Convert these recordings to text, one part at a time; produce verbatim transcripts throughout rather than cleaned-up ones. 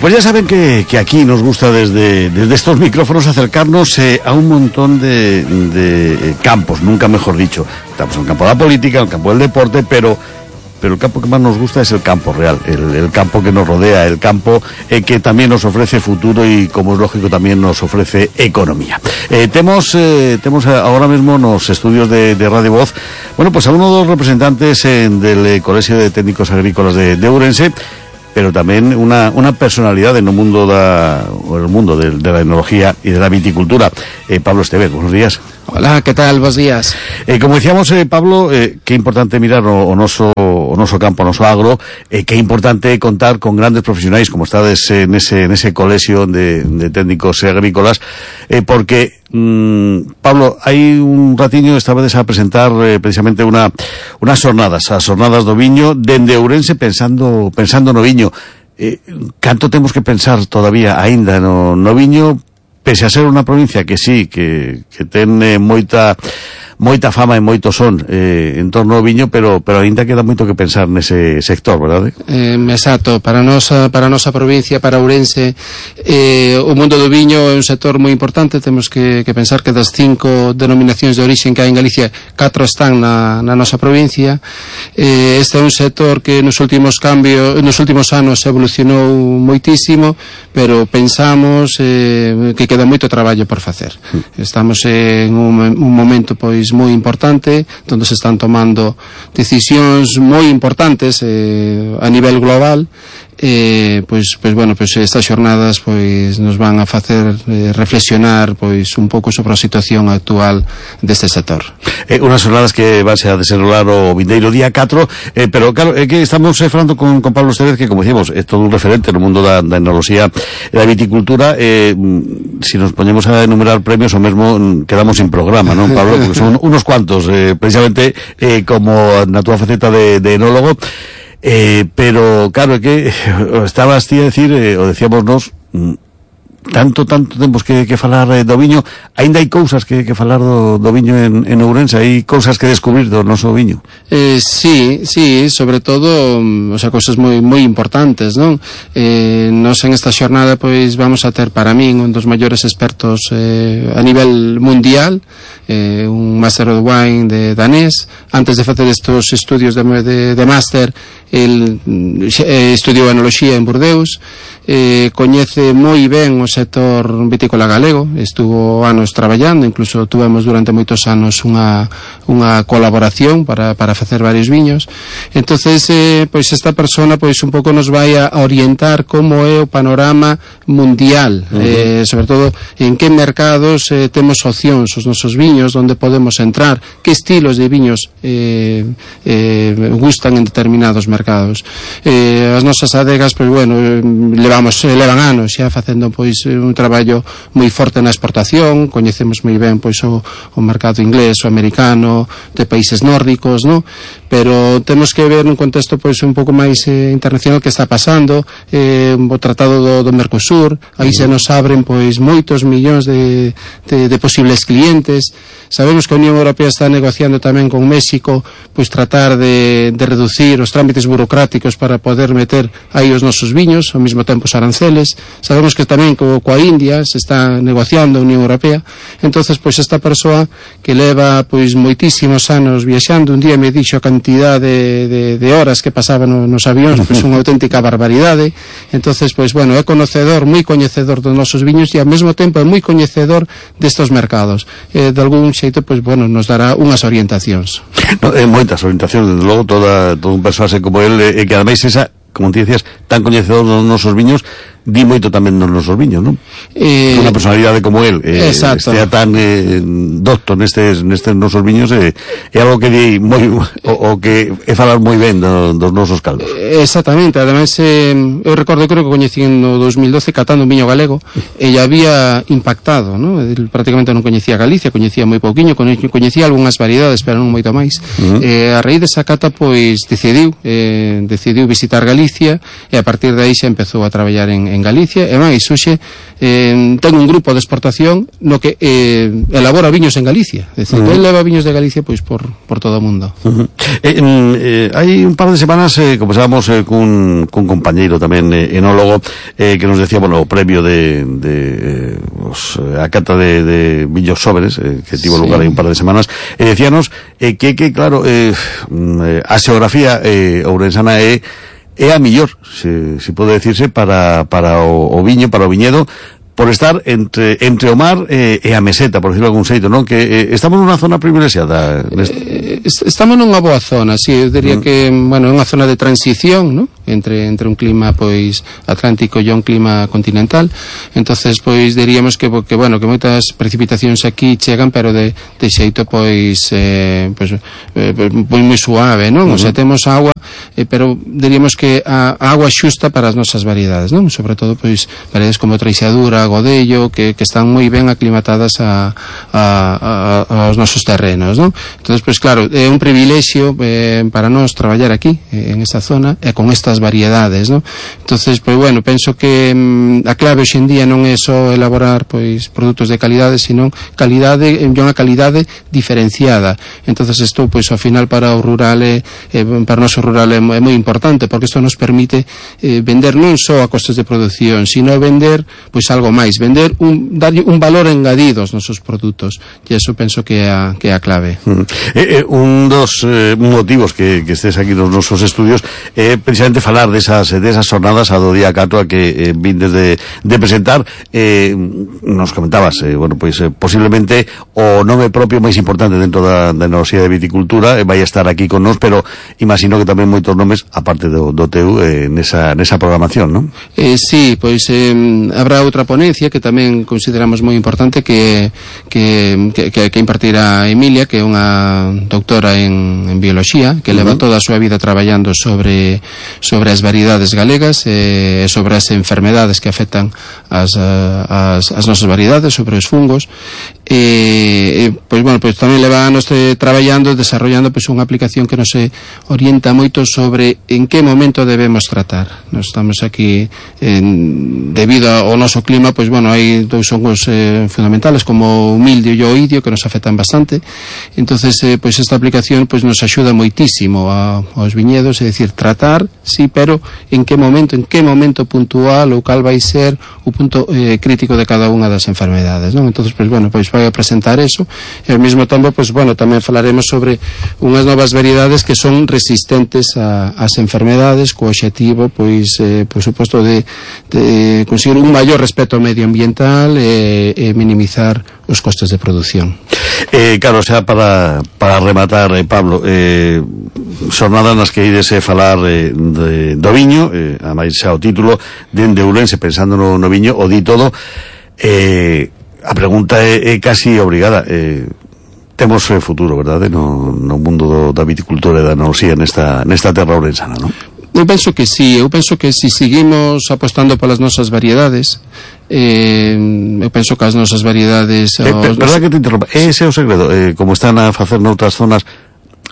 Pues ya saben que, que aquí nos gusta desde, desde estos micrófonos acercarnos eh, a un montón de, de campos, nunca mejor dicho. Estamos en el campo de la política, en el campo del deporte, pero... pero el campo que más nos gusta es el campo real, el, el campo que nos rodea, el campo eh, que también nos ofrece futuro y, como es lógico, también nos ofrece economía. Eh, tenemos, eh, tenemos ahora mismo en los estudios de, de Radio Voz, bueno, pues a uno de los representantes eh, del eh, Colegio de Técnicos Agrícolas de, de Ourense, pero también una, una personalidad en el mundo, da, el mundo de, de la enología y de la viticultura. Eh, Pablo Estevez, buenos días. Hola, ¿qué tal? Buenos días. Eh, como decíamos, eh, Pablo, eh, qué importante mirar o, o noso, o noso campo, o noso agro, eh, qué importante contar con grandes profesionales como estades en ese, en ese colegio de, de técnicos agrícolas, eh, porque, mmm, Pablo, hay un ratiño esta vez a presentar eh, precisamente una, unas jornadas, as jornadas do viño, dende Ourense pensando, pensando no viño. Eh, canto temos que pensar todavía aínda no, no viño, pese a ser unha provincia que sí, que, que ten eh, moita moita fama e moito son eh, en torno ao viño, pero pero aínda queda moito que pensar nese sector, verdade? Eh, exacto, para nosa para nosa provincia, para Ourense, eh, o mundo do viño é un sector moi importante. Temos que, que pensar que das cinco denominacións de orixen que hai en Galicia, catro están na, na nosa provincia. Eh, este é un sector que nos últimos cambios, nos últimos anos evolucionou moitísimo, pero pensamos eh, que queda moito traballo por facer. Estamos en un, un momento pois moi importante, onde se están tomando decisións moi importantes eh, a nivel global. Eh, pois, pois bueno, pois estas xornadas pois nos van a facer eh, reflexionar pois un pouco sobre a situación actual deste sector. Eh, unas xornadas que vanse a desenrolar o vindeiro día catro, eh, pero claro, é que estamos eh, falando con, con Pablo Estevez, que como decimos, é todo un referente no mundo da, da enoloxía e da viticultura. Eh, si nos poñemos a enumerar premios, o mesmo quedamos sin programa, non, Pablo? Porque son unos cuantos, eh, precisamente eh, como na túa faceta de, de enólogo. Eh, pero claro, é que estabas ti a decir, eh, o decíamos nos, tanto, tanto temos que, que falar eh, do viño, aínda hai cousas que, que falar do, do viño en, en Ourense, hai cousas que descubrir do noso viño. Eh, sí, sí, sobre todo, o sea, cousas moi moi importantes, non? Eh, nos en esta xornada pois vamos a ter para min un dos maiores expertos eh, a nivel mundial, eh, un Master of Wine de danés. Antes de facer estos estudios de, de, de Master, el eh, estudiou enoloxía en Bordeus, eh, coñece moi ben o sector vitícola galego, estuvo anos traballando, incluso tuvemos durante moitos anos unha, unha colaboración para, para facer varios viños. Entonces, eh, pois esta persona pois un pouco nos vai a orientar como é o panorama mundial, uh-huh. eh, sobre todo en que mercados eh, temos opcións os nosos viños, onde podemos entrar, que estilos de viños eh, eh, gustan en determinados mercados. Eh, as nosas adegas, pois bueno, levamos, levan anos xa facendo pois un traballo moi forte na exportación, coñecemos moi ben pois o, o mercado inglés, o americano, de países nórdicos, no? Pero temos que ver nun contexto pois un pouco máis eh, internacional que está pasando, eh, o tratado do, do Mercosur, aí se nos abren pois moitos millóns de, de, de posibles clientes. Sabemos que a Unión Europea está negociando tamén con México pois tratar de, de reducir os trámites burocráticos para poder meter aí os nosos viños, ao mesmo tempo os aranceles. Sabemos que tamén co, coa India se está negociando a Unión Europea. Entonces, pois esta persoa que leva pois moitísimos anos viaxando, un día me dixo a cantidad de, de, de horas que pasaba no, nos avións, pois unha auténtica barbaridade. Entonces, pois bueno, é conocedor, moi coñecedor dos nosos viños e ao mesmo tempo é moi coñecedor destos mercados. Eh, de algún xeito, pois bueno, nos dará unhas orientacións. No, é moitas orientacións, desde logo, toda, todo un persoase como el, e eh, que ademais esa, como te decías, tan coñecedor dos nosos viños, di moito tamén nos nosos viños, non? Eh, unha personalidade como el, eh, estea tan eh, docto nestes, nestes nosos viños, é eh, algo que di moi, o, o que é falar moi ben do, dos nosos caldos. Exactamente, ademais eh, eu recordo, creo que coñecí no dos mil doce catando un viño galego e ya había impactado, ¿no? Prácticamente non coñecía Galicia, coñecía moi pouquiño, coñecía algunhas variedades, pero non moito máis. Uh-huh. eh, a raíz desa cata, pois decidiu eh, decidiu visitar Galicia e a partir de aí xa empezou a traballar en en Galicia, e máis hoxe eh, ten un grupo de exportación no que eh, elabora viños en Galicia, é dicir, uh -huh. eleva viños de Galicia pois por, por todo o mundo. Uh -huh. eh, eh, hai un par de semanas eh, conversábamos eh, cun, cun compañeiro tamén eh, enólogo eh, que nos decía, bueno, o premio de, de eh, os, a cata de, de viños sobres eh, que tivo sí. lugar hai un par de semanas, e eh, decíanos eh, que, que claro eh, a xeografía eh, ourensana é é a millor, se, se pode decirse, para, para o, o viño, para o viñedo, por estar entre entre o mar eh, e a meseta, por decirlo de algún xeito, non? Que eh, estamos nunha zona privilexiada. Eh, estamos nunha boa zona, si, sí, eu diría mm. que, bueno, é unha zona de transición, non? Entre entre un clima pois atlántico e un clima continental. Entonces, pois diríamos que que bueno, que moitas precipitacións aquí chegan, pero de de xeito pois eh pois eh, pois moi suave, non? Uh -huh. O sea, temos agua, eh, pero diríamos que a, a agua xusta para as nosas variedades, non? Sobre todo pois variedades como Treixadura, Godello, que, que están moi ben aclimatadas a, a, a, aos nosos terrenos, non? Entonces, pois claro, é un privilexio eh, para nós traballar aquí, eh, en esa zona, e con estas variedades, non? Entonces, pois bueno, penso que mm, a clave hoxe en día non é só elaborar pois produtos de calidade, sino calidade, e unha calidade diferenciada. Entonces, isto pois ao final para o rural é, eh, para o noso rural é, é moi importante, porque isto nos permite eh, vender non só a costes de produción, sino vender pois algo máis, vender un darlle un valor engadido aos nosos produtos, e iso penso que é a, que é a clave. Mm. Eh, eh, un dos eh, motivos que, que estés aquí nos nosos estudios é eh, precisamente falar desas, desas jornadas a do día catro a que eh, vindes de, de presentar. Eh, nos comentabas, eh, bueno, pois eh, posiblemente o nome propio máis importante dentro da, da Universidade de Viticultura eh, vai estar aquí con nós, pero imagino que tamén moitos nomes, aparte do, do teu, eh, nesa, nesa programación, non? Eh, sí, pois eh, habrá outra ponencia que tamén consideramos moi importante que, que, que, que impartirá Emilia, que é unha doutora en, en biología, que uh -huh. leva toda a súa vida traballando sobre sobre as variedades galegas e eh, sobre as enfermedades que afectan as, as, as nosas variedades, sobre os fungos. E, e pois bueno, pois tamén leva anos de, traballando, desarrollando pois unha aplicación que nos orienta moito sobre en que momento debemos tratar. Nos estamos aquí en, debido ao noso clima, pois bueno, hai dous hongos eh, fundamentales como o mildio e o oidio que nos afectan bastante. Entonces, eh, pois esta aplicación pois nos axuda moitísimo a, aos viñedos, é dicir, tratar, sí, pero en que momento, en que momento puntual ou cal vai ser o punto eh, crítico de cada unha das enfermedades, non? Entonces, pois bueno, pois vai a presentar eso, e ao mesmo tempo, pois bueno, tamén falaremos sobre unhas novas variedades que son resistentes a, ás enfermedades, co obxectivo, pois, eh, por suposto, de, de conseguir un maior respeto medioambiental e, e minimizar os costes de produción. Eh, claro, xa para, para rematar, eh, Pablo, eh, xornadas nas que ides eh, falar eh, de, do viño, eh, a máis xa o título, dende Ourense, pensando no, no viño, o di todo. Eh, a pregunta é, é casi obrigada. Eh, temos eh, futuro, verdade, no, no mundo do, da viticultura e da enoloxía nesta, nesta terra ourensana, non? Eu penso que sí, eu penso que se si seguimos apostando polas nosas variedades, eh, eu penso que as nosas variedades... Eh, os... Verdad que te interrompa, ese é o segredo, eh, como están a facer noutras zonas,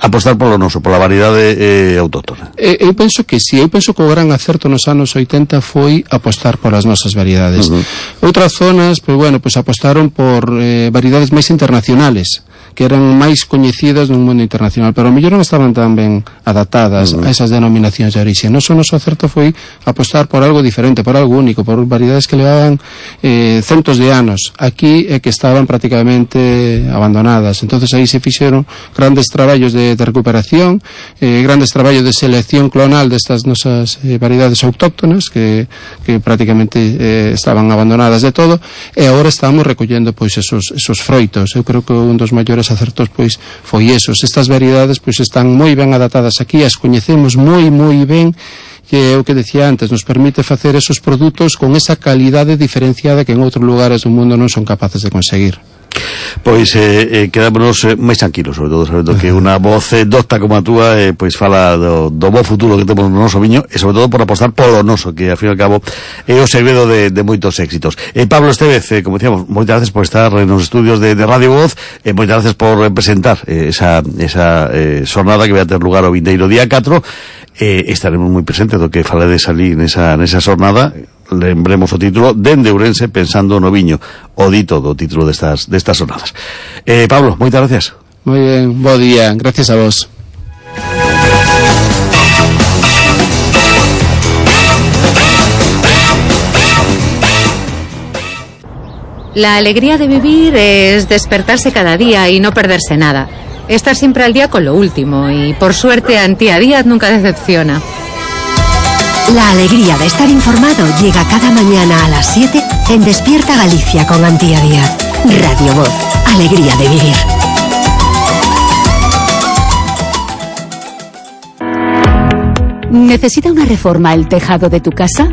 apostar polo noso, pola variedade eh, autóctona. Eh, eu penso que sí, eu penso que o gran acerto nos anos oitenta foi apostar polas nosas variedades. Uh -huh. Outras zonas, pois bueno, pois apostaron por eh, variedades máis internacionales, que eran máis coñecidas no mundo internacional, pero ao mellor non estaban tan ben adaptadas uh -huh. a esas denominacións de orixe. Non só o noso acerto foi apostar por algo diferente, por algo único, por variedades que levaban eh, centos de anos aquí e que estaban prácticamente abandonadas. Entonces aí se fixeron grandes traballos de, de recuperación, eh, grandes traballos de selección clonal destas nosas eh, variedades autóctonas que, que prácticamente eh, estaban abandonadas de todo, e agora estamos recollendo pois esos, esos froitos. Eu creo que un dos maiores acertos pois foi esos. Estas variedades pois están moi ben adaptadas aquí, as coñecemos moi moi ben, que é o que decía antes, nos permite facer esos produtos con esa calidade diferenciada que en outros lugares do mundo non son capaces de conseguir. Pois eh, eh, quedámonos eh, máis tranquilos, sobre todo sabendo que unha voz eh, docta como a túa eh, pois fala do, do bo futuro que temos no noso viño, e sobre todo por apostar polo noso, que ao fin e ao cabo é o segredo de, de moitos éxitos. eh, Pablo Estévez, eh, como decíamos, moitas gracias por estar nos estudios de, de Radio Voz, e eh, moitas gracias por eh, presentar eh, esa, esa eh, xornada que vai a ter lugar o vindeiro día catro. Eh, estaremos moi presentes do que faledes ali nesa, nesa xornada. lembremos o título, dende Ourense pensando no viño, o dito do título destas, destas sonadas. Eh, Pablo, moitas gracias. Moi ben, bo día, gracias a vos. La alegría de vivir es despertarse cada día y no perderse nada. Estar siempre al día con lo último y, por suerte, Antía Díaz nunca decepciona. La alegría de estar informado llega cada mañana a las siete en Despierta Galicia con Antía Díaz. Radio Voz, alegría de vivir. ¿Necesita una reforma el tejado de tu casa?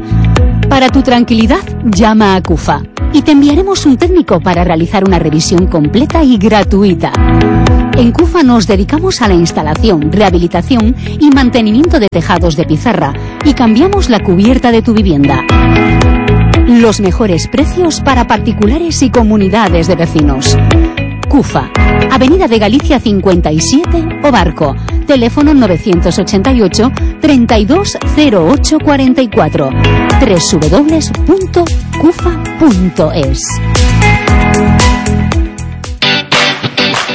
Para tu tranquilidad, llama a CUFA y te enviaremos un técnico para realizar una revisión completa y gratuita. En CUFA nos dedicamos a la instalación, rehabilitación y mantenimiento de tejados de pizarra y cambiamos la cubierta de tu vivienda. Los mejores precios para particulares y comunidades de vecinos. CUFA, Avenida de Galicia cincuenta y siete, O Barco, teléfono novecientos ochenta y ocho, treinta y dos cero ocho cuarenta y cuatro, doble u doble u doble u punto cufa punto es.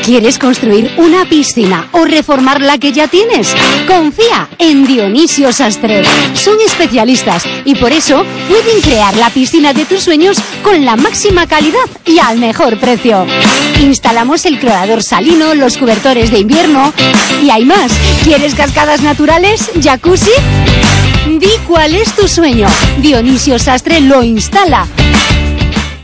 ¿Quieres construir una piscina o reformar la que ya tienes? Confía en Dionisio Sastre. Son especialistas y por eso pueden crear la piscina de tus sueños con la máxima calidad y al mejor precio. Instalamos el clorador salino, los cobertores de invierno y hay más. ¿Quieres cascadas naturales? ¿Jacuzzi? Di cuál es tu sueño. Dionisio Sastre lo instala.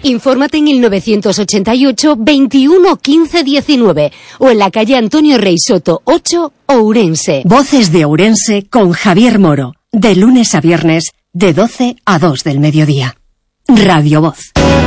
Infórmate en el novecientos ochenta y ocho, veintiuno, quince, diecinueve o en la calle Antonio Rey Soto ocho, Ourense. Voces de Ourense con Javier Moro, de lunes a viernes, de doce a dos del mediodía. Radio Voz.